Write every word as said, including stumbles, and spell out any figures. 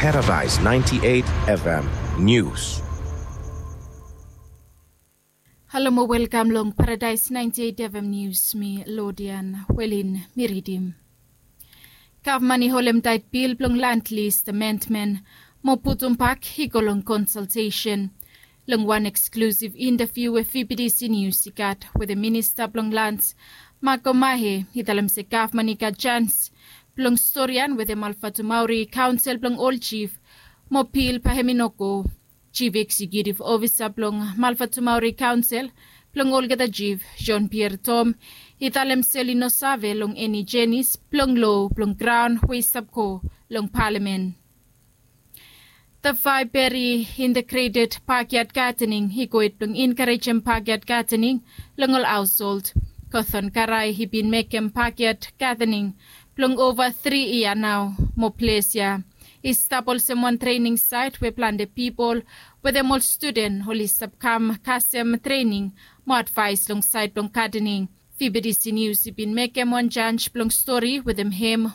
Paradise ninety-eight F M News. Halo mo welkam long Paradise ninety-eight F M News, mi Lodian Welin mi ridim. Gavman i holem taet bil blong land list amendment mo putum bak i go long konsaltesen. Long wan eksklusiv intaviu we V B T C News i gat wetem minista blong lans Mako Mahe, i talem se gavman i gat jans blong storian wetem Alfatumauri kaonsel blong ol jif mo bil bae hem i no go. Jif Eksekiutiv Ofisa blong Malfatumauri Kaonsel blong olgeta jif, Jean Pierre Tom, i talem se oli no save long eni jenis blong lo blong graon we i stap go long palamen. The Faeberi Integreted Bakyad Gadening i gohed blong enkarejem bakyad gadening long ol haosold. Gothon Karai i bin mekem bakyad gadening blong ova tri yia nao mo ples ya i stap olsem wan trening saet we plante pipol wetem ol studen oli stap kam kasem trening mo advaes long saed blong gadening. V B T C News i bin mekem wan jaj blong stori wetem hem